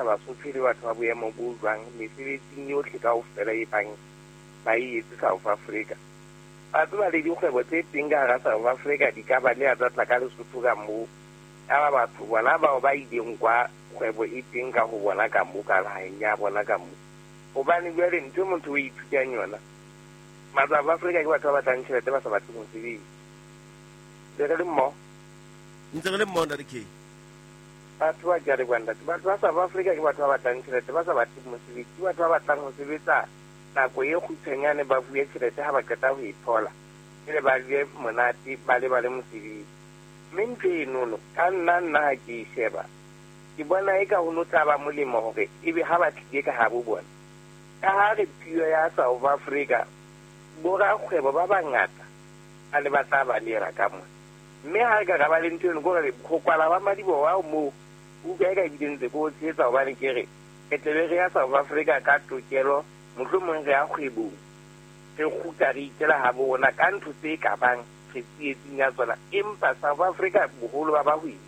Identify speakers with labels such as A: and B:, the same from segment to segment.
A: Basotho le batho ba boemo bo jwang mesebetsing yohle kaofela e bang ba e etse South Africa. Ba tseba le dikgwebo tse teng ka hara South Africa di ka ba le tsa tla ka Lesotho ka moo. Yaba batho bona bao ba ileng kwa kgwebo e teng ka ho bona ka moo ka naheng ya bona ka moo. Hobane jwale ntho e motho o ithutang yona, ma-South Africa ke batho ba batlang tjhelete ba sa batleng ho sebetsa. Le re le mmoho?
B: Ntse re le mmoho, Ntate K.
A: Batho ba ke a leboha ntate. Batho ba South Africa ke batho ba batlang tjhelete ba sa batleng mosebetsi. Ke batho ba batlang ho sebetsa nako e kgutshwanyane ba bue tjhelete ha ba qeta ho e thola. Pele ba je monate ba lebale mosebetsi. Mme ntho enono ka nna nna ha ke e sheba, ke bona eka ho no tla ba molemo hore ebe ha ba tlile ka habo bona. Ka ha re puo ya South Africa, borakgwebo ba bangata ba ne ba tla balehela ka mona. Mme ha re ka ra ba le ntho eno, ke hore ho kwala ba madiboho ao moo, utlwa eka ebile ntse ke o tshehetsa hobane ke re, re tle be re ya South Africa ka tokelo, mohlomong re ya kgwebong, re kgutla re ikela habo rona ka ntho tse ka bang re tsietsing ya tsona. Empa South Africa boholo ba bahwebi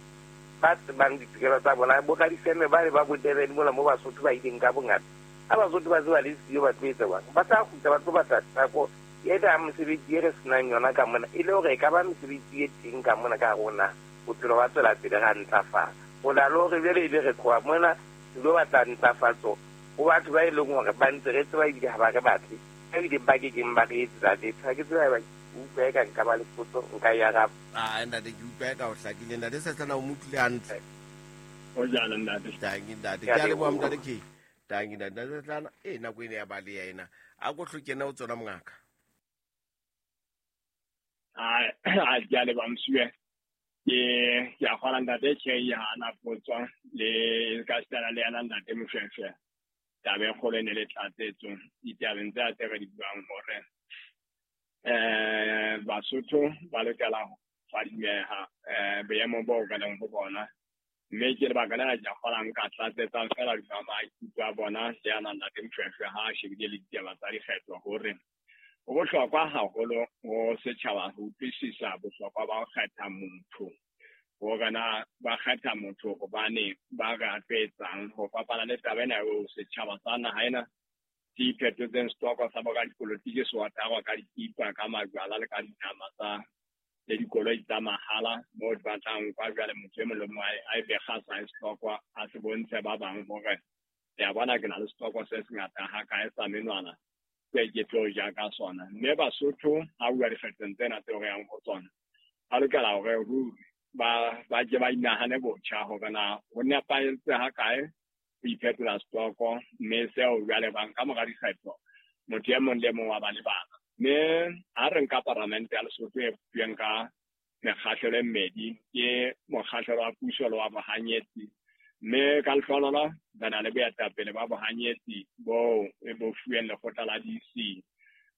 A: ba tsebang ditokelo tsa bona, bo radifeme ba le ba bo Durban mona mo Basotho ba ileng ka bongata. Ha Basotho ba tseba le siyo ba tlo etsa jwang? Ba tla kgutla ba tlo batla tako ena ya mosebetsi e re senang yona ka mona, e le hore e ka ba mesebetsi e teng ka mona ka hare ho naha, bophelo ba tswela pele ra ntlafala. Ho na le hore jwale ebe re tloha mona re lo batla ntlafatso ho batho ba e leng hore ba ntse re tseba ebile ha ba re batle, ba bileng ba ke keng ba re etsetsa letho. Ha ke tsebe haeba ke utlwa eka nka ba le potso nka e araba.
B: Ah, ntate, ke utlwa eka o hlakile. Ntate Sehlana, o mo utlwile hantle.
C: O jalo, ntate.
B: Tanki, ntate. Ke a leboha, ntate K. Tanki, ntate. Ntate Sehlana, e nako ene ya baleha ena. A ko hloke o tsona mongaka.
C: A ke a leboha Msuwe. Ke a kgola ntate K ha na potso le ka sitana le yena ntate Moshweshwe. Taba e kgolo e ne le tlatsetso ditabeng tse tse re di buang hore Basotho ba lokela ho fadimeha boemo boo re leng ho bona. Mme ke lebaka lena ke a kgola nka tlatsetsang fela hodima maikutlo a bona le yana ntate Moshweshwe ha a shebile le ditaba tsa dikgetho hore ho bohlokwa haholo ho setjhaba ho utlwisisa bohlokwa ba ho kgetha motho. Hore na ba kgetha motho hobane ba re a tlo etsang, ho fapana le taba ena eo setjhaba sa naha ena se iphetotseng setoko sa boradipolotiki se otarwa ka dikipa, ka majwala le ka dinama tsa le dikoloi tsa mahala moo di batlang kwa jwale motho e mong le mong a e bekga sa setoko a se bontshe ba bang hore le a bona ke na le setoko se sengata ha kae sa menwana se ke tlo ja ka sona. Mme Basotho ha bua dikgethong tsena tseo re yang ho tsona, ba lokela hore ruri ba ke ba inahane botjha hore na ho nepahetse ha kae ho iphetola setoko, mme seo jwale bang ka mora dikgetho motho e mong le mong wa ba le bana. Mme ha re nka paramente ya Lesotho e bopilweng ka mekgahlelo e mmedi, ke mokgahlelo wa puso le wa bohanyetsi. Mme ka lehlohonolo re na le boetapele ba bohanyetsi boo bo fuweng lekgotla la DC,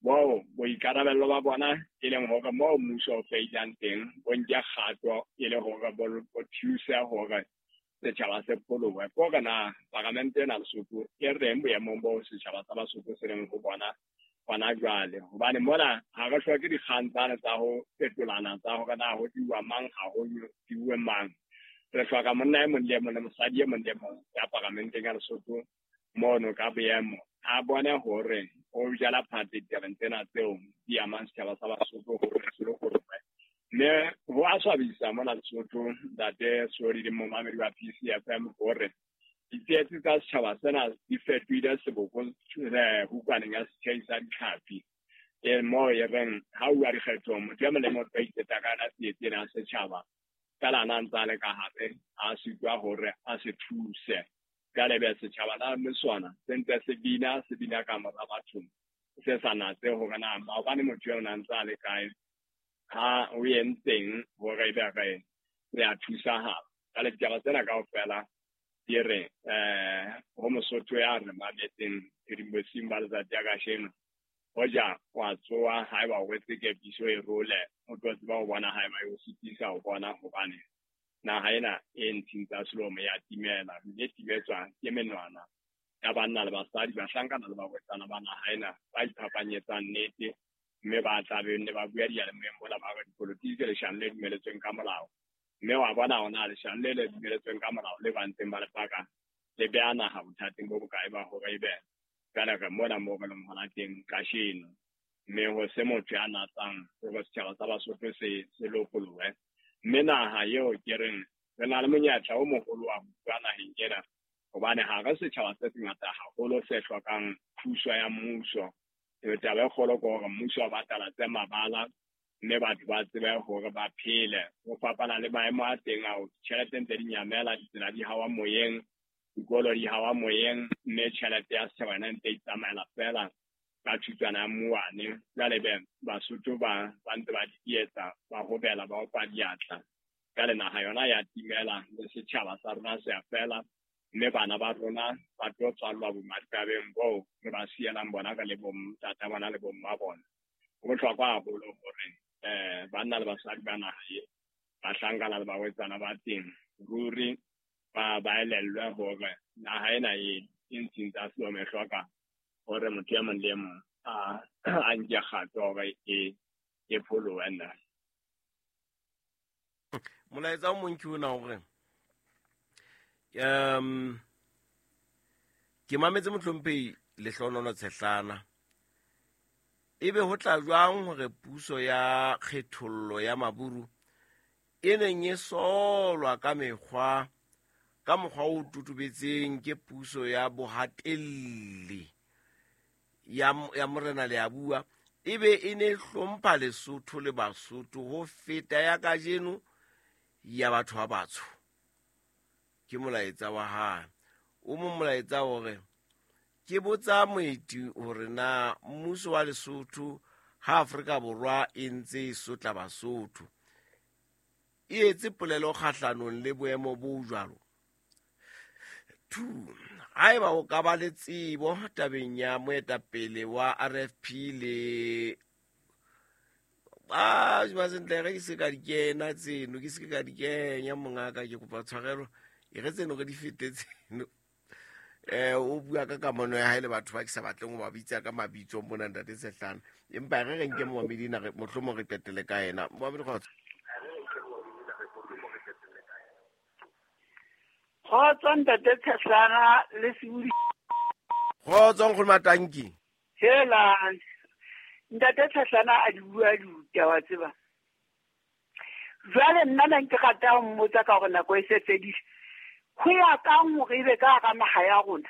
C: boo boikarabello ba bona e leng hore moo mmuso o feilang teng bo nke kgato e le hore bo thuse hore setjhaba se pholohe. Ke hore na paramente ena Lesotho e reng boemong boo setjhaba sa Basotho se leng ho bona hona jwale. Hobane mona ha re hloke dikgang tsane tsa ho fetolana tsa hore na ho diwa mang ha ho diwe mang. Re hloka monna e mong le e mong le mosadi e mong le mong ya paramenteng ya Lesotho mono ka boemo a bone hore o jala phate ditabeng tsena tseo di amang setjhaba sa Basotho hore se lokolohe. Mme ho a swabisa mona Lesotho, ntate Soli le momamedi wa PCFM, hore ditsietsi tsa setjhaba sena di fetohile seboko hukwaneng ya setjhai sa ditlhapi. E moo e reng ha uwa dikgethong motho e mong le mong o tlo iteta ka yona tsietsi ena ya setjhaba, feela na ntse a le ka hare a sitwa hore a se thuse. Jwale be setjhaba na le sona se ntse se bina, se bina ka mora batho, se sa natse hore na maobane motho eo na ntse a le kae, ha o entseng hore ebe re a thusahala. Jwale ditaba tsena kaofela di re ho Mosotho ya re mametseng phirimosing ba letsatsi ya kasheno, hoja wa tsoha haeba o rwetse kepiso e role, o tlo tseba ho bona haeba e o sitisa ho bona, hobane naha ena e ntshing tsa selomo ya timela, mme timetswa ke menwana ya banna le basadi, bahlankana le barwetsana ba naha ena ba iphapanyetsang nnete, mme ba tla be ne ba bua diyalemoyeng mola ba re dipolotiki ke leshano le dumeletsweng ka molao. Mme wa bona hona leshano le le dumeletsweng ka molao le ba ntseng ba le paka le beha naha bothateng bo bokae ba hore ebe jwale re mona moo re leng hona teng kasheno. Mme ho se motho ya natsang hore setjhaba sa Basotho se lokolohe. Mme naha eo ke reng re na le monyetla o moholo wa ho bua naheng ena, hobane ha re setjhaba se sengata haholo se hlokang thuso ya mmuso. Taba e kgolo ke hore mmuso o batala tse mabala, mme batho ba tsebe hore ba phele. Ho fapana le maemo a teng ao, ditjhelete ntse di nyamela, ditsela di hawa moyeng, dikolo di hawa moyeng, mme tjhelete ya setjhaba yona ntse e tsamaela feela ka thutwana ya mmuwane. Jwale be Basotho ba ntse ba dietsa, ba hobela, ba opa diatla. Jwale naha yona ya timela, le setjhaba sa rona se a fela, mme bana ba rona ba tlo tswallwa bomadikabeng boo re ba sielang bona ka le bontata bona le bomma bona. Ho bohlokwa haholo hore banna le basadi ba naha e, bahlankana le barwetsana ba teng, ruri ba elellwe hore naha ena e ntsheng tsa selemo e hloka hore motho e mong le e mong a nke kgato hore e pholohe nna.
B: Molaetsa o mong ke ona hore ke mametse mohlomphehi Lehlohonololo Tshehlana. Ebe ho tla jwang hore puso ya kgethollo ya Maburu e neng e solwa ka mekgwa ka mokgwa o totobetseng ke puso ya bohatelli ya Morena Leabua ebe e ne hlompha Lesotho le Basotho ho feta ya kajeno ya batho ba batsho. Ke molaetsa wa hae. O mong molaetsa hore ke botsa moeti hore na mmuso wa Lesotho ha Afrika Borwa e ntse e sotla Basotho e etse polelo kgahlanong le boemo bo jwalo. 2 haeba o ka ba le tsebo tabeng ya moetapele wa RFP le ba sentle re ke se ka di kena tseno, ke se ka di kenya mongaka, ke kopa tshwarelo e re tseno re di fete tseno. O bua ka kamano ya hae le batho ba ke sa batleng ho ba bitsa ka mabitso mona ntate Tshehlana, empa re re nke momamedi na re mohlomong re qetele ka yena. Momamedi kgotso.
D: Kgotso ntate Tshehlana le Sebudi.
B: Kgotso nkgono Matanki.
D: Hela ntate Tshehlana a di bua ditaba tseba. Jwale nna ne ke rata ho mmotsa ka hore nako e se fedile. Ho ya kang hore ebe ka hara naha ya rona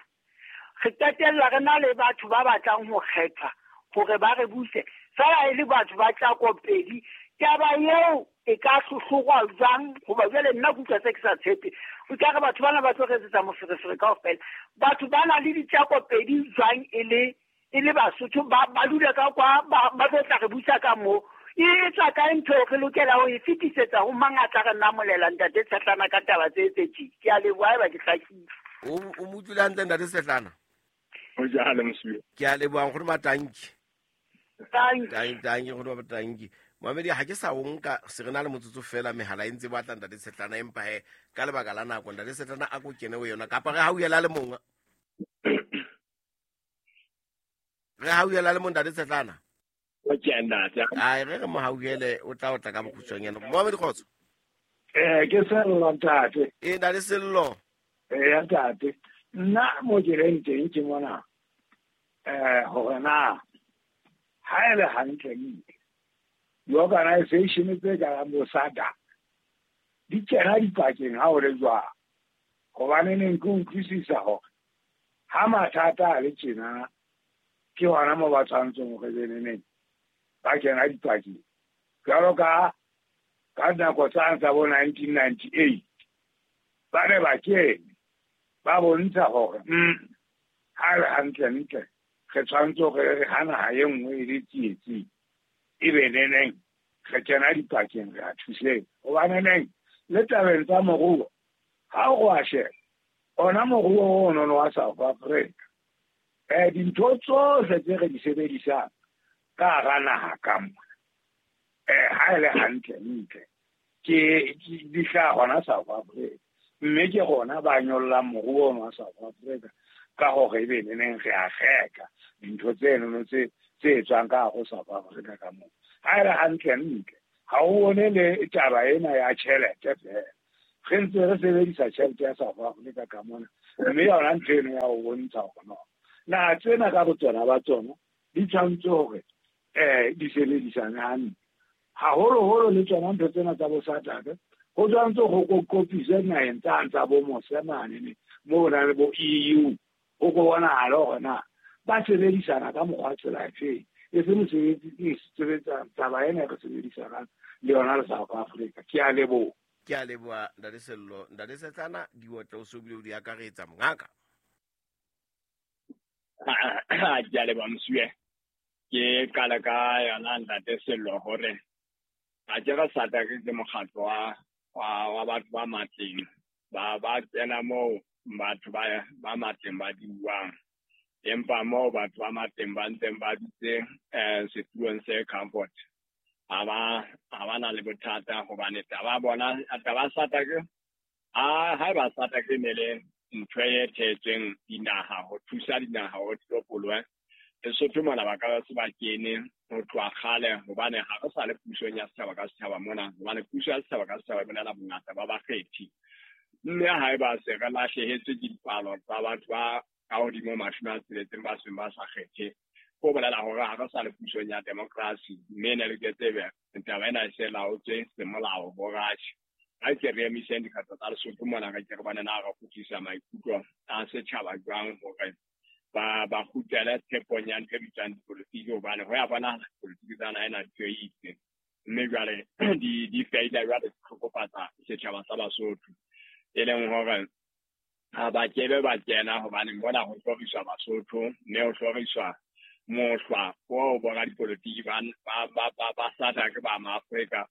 D: re qetella re na le batho ba batlang ho kgethwa hore ba re buse, fela e le batho ba tlakopedi. Taba eo e ka hlohlorwa jwang? Hoba jwale nna ke utlwa se ke sa tshepe. O ka re batho bana ba tlo re etsetsa moferefere kaofela. Batho ba na le ditlakopedi jwang e le Basotho ba dula ka kwa ba tlo tla re busa ka moo. E etsa kae ntho re lokela ho e fetisetsa ho mang a tla re namolela ntate Tshehlana ka taba tse tse tje? Ke a leboha haeba ke hlakile.
B: O mo utlwile hantle ntate Tshehlana?
C: O jalo mosiwe.
B: Ke a leboha nkgono Matanki.
D: Tanki.
B: Tanki nkgono Matanki. Mamedi ha ke sa o nka se re na le motsotso fela mehala e ntse batla ntate Tshehlana, empa he ka lebaka la nako ntate Tshehlana a ko kene ho yona kapa re hauhela le mong. Re hauhela le mong ntate Tshehlana. Ai re re mo hauhele o tla ka bokgutshwanyane. Momamedi kgotso.
E: Ke Sello ntate.
B: E ntate Sello.
E: Ya ntate. Nna mo ke leng teng ke mona hore na ha e le hantle ntle di-organization tse karang bo SADC di kena dipakeng ha o le jwang, hobane neng ke utlwisisa hore ha mathata a le tjena ke hona moo ba tshwanetseng hore beneneng ba kena dipakeng. Jwalo ka nako tsane tsa bo 1998 ba ne ba kene ba bontsha hore ha le hantle ntle re tshwanetse hore re ha naha e nngwe e le tsietsing ebe neneng re kena dipakeng re a thuseng. Hobane neng le tabeng tsa moruo ha o a sheba ona moruo ono wa South Africa dintho tsohle tse re di sebedisang ka hara naha ka mona ha e le hantle ntle ke di hlaha hona South Africa, mme ke rona ba nyollang moruo ono wa South Africa ka hore ebe neneng re a reka dintho tsenono tse etswang ka hare ho South Africa ka moo. Ha e le hantle ntle ha o bone le taba ena ya tjhelete fela, re ntse re sebedisa tjhelete ya South Africa ka mona. Mme yona ntho eno ya ho bontsha hore no naha tsena ka botsona ba tsona di tshwanetse hore di sebedisane hantle. Haholoholo le tsona ntho tsena tsa bo SADC ho tshwanetse ho kopiswe naheng tsane tsa bo mose mane moo na le bo EU ho ko bonahale hore na ba sebedisana ka mokgwa tsela efeng, e se mosebetsi e sebetsa taba ena e re sebedisanang le yona le South Africa. Ke a leboha.
B: Ke a leboha Ntate Sello. Ntate Setlana, diotlo o se o bile o di akaretsa mongaka.
C: Ke a leboha Mosuwe. Ke qala ka yona Ntate Sello hore ha ke re SADC ke mokgatlo wa batho ba matleng ba kena moo batho ba matleng ba diuwang, empa moo batho ba matleng ba ntseng ba dutse setulong se comfort ha ba na le bothata, hobane taba bona taba SADC haeba SADC ne le ntho e thetsweng dinaha ho thusa dinaha ho tlopolwe Lesotho mona ba ka se ba kene ho tloha kgale, hobane ha re sa le pusong ya setjhaba ka setjhaba mona, hobane puso ya setjhaba ka setjhaba e bolela bongata ba bakgethi. Mme haeba se re lahlehetswe ke dipalo tsa batho ba ka hodimo 60 ba seng ba sa kgethe, ho bolela hore ha re sa le pusong ya democracy, mme ne le ke tsebe taba ena e se laotswe semolao bo Russia. Ha ke re emiseng dikgetho tsa Lesotho mona, re ke re bone na re kgutlisa maikutlo a setjhaba jwang hore ba kgutlele tshepong ya ntho e bitswang dipolotiki, hobane ho ya bonahala dipolotiki tsa naha ena di itse, mme jwale di feila jwale di hlokofatsa setjhaba sa Basotho, e leng hore ha ba kebe ba kena, hobane mona ho hloriswa Basotho, mme ho hloriswa mohlwa oo boradipolotiki ba SADC ba Maafrika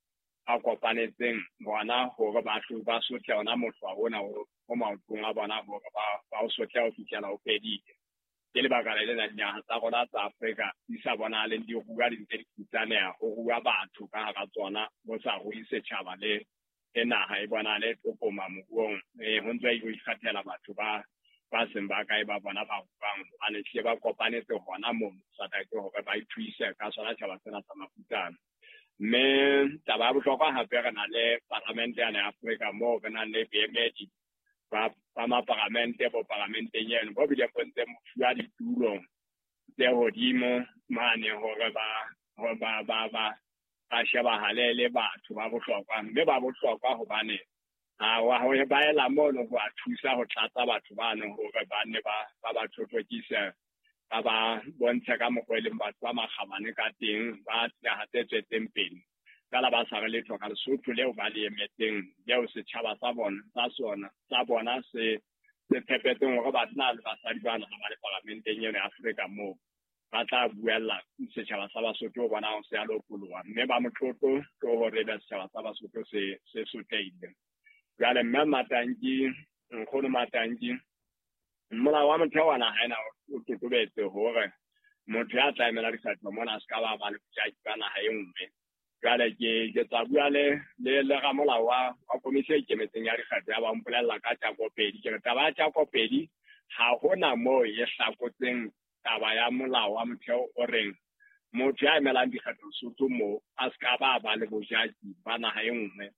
C: a kopanetseng bona hore ba sotle ona mohlwa ona o maotong a bona hore ba o sotle ho fihlela o fedile. Ke lebaka le lena dinaha tsa rona tsa Afrika di sa bonahaleng di rua, di ntse di futsaneha, ho rua batho ka hara tsona, ho sa rui setjhaba le naha e bonahale e tlokoma moruong. Ho ntse ho ikgethela batho ba seng ba kae ba bona ba ruang, hobane hlile ba kopanetse hona mono SADC hore ba ithuise ka sona tjhaba sena sa mafutsana. Mme taba ya bohlokwa hape re na le paramente yana ya Afrika moo re nang le boemedi ba maparamente bo paramenteng eno bo bile bo ntse fuwa ditulo tse hodimo mane hore ba shebahale le batho ba bohlokwa, mme ba bohlokwa hobane ba ela mono ho a thusa ho tlatsa batho bano hore ba nne ba thothokise, ba bontshe ka mokgwa e leng batho ba makgabane ka teng, ba dinaha tse tswetseng pele. Feela ba sa re letho ka Lesotho leo ba le emetseng, leo setjhaba sa bona sa bona se tshepetseng hore banna le basadi bana ha ba le paramenteng eno ya Afrika moo ba tla buella setjhaba sa Basotho ho bona ho se a lopoloha, mme ba motlotlo ke hore ebe setjhaba sa Basotho se sotlehile. Jwale mme Matanki, nkgono Matanki, molao wa motheo wa naha ena o totobetse hore motho ya tla emela dikgetho mona a se ka ba le bojaki ba naha e nngwe. Jwale ke tla bua le ramolao wa komisi e ikemetseng ya dikgetho ya ba mpolella ka Tjakopedi. Ke re taba ya Tjakopedi ha hona moo e hlakotseng taba ya molao wa motheo o reng motho ya emelang dikgetho Lesotho moo a se ka ba le bojaki ba naha e nngwe,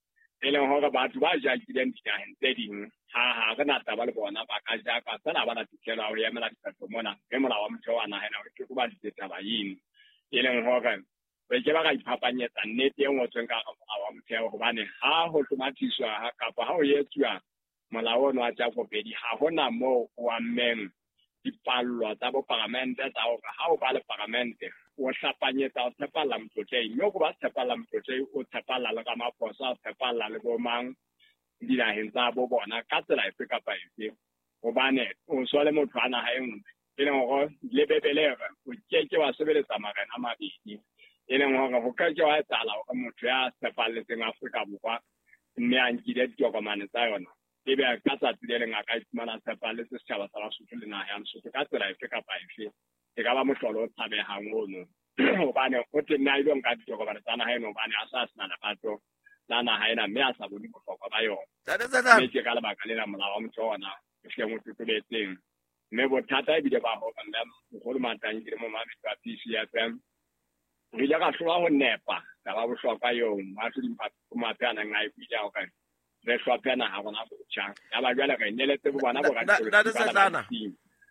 C: e leng hore batho ba jakileng dinaheng tse ding ha re na taba le bona, ba ka jaka feela ba na tokelo ya ho emela dikgetho mona, mme molao wa motheo wa naha ena o totobaditse taba eno, e leng hore re ke ba ra iphapanyetsa nnete e ngotsweng ka hara molao wa motheo, hobane ha ho hlomathiswa kapa ha ho etsuwa molao ono wa Tjakopedi ha hona moo o ammeng dipallo tsa boparamente tsa hore ha o ba le paramente o hlapanyetsa o tshepalla motlotlehi, mme o ba tshepalla motlotlehi o tshepalla le Ramaphosa, o tshepalla le bo mang dinaheng tsa bo bona ka tsela efe kapa efe, hobane o so le motho a naha e nngwe, e leng hore le Bebele e re o keke wa sebeletsa marena a mabedi, e leng hore ho ka ke wa etsahala hore motho ya tshepalletseng Afrika Borwa mme a nkile ditokomane tsa yona ebe ka tsatsi le leng a ka iphumana a tshepalletse setjhaba sa Basotho le naha ya Lesotho ka tsela efe kapa efe, e ka ba mohlolo o tshabehang ono, hobane o teng a ilo nka ditokomane tsa naha eno hobane a sa sena lerato la naha ena mme a sa bone bohlokwa ba yona. Mme ke ka lebaka lena molao wa motheo ona o hleng o totobetseng. Mme bothata ebile ba hore mme Nkgono Matanki le momamedi wa PCFM re ile ra hlolwa ho nepa taba bohlokwa eo moahlodi Maphe a neng a e buile hore Re hlophe naha rona botjha. Yaba jwale re neletse bo bona
B: Ntate
C: boradipolotiki bana ba
B: Setlana.
C: ditsing.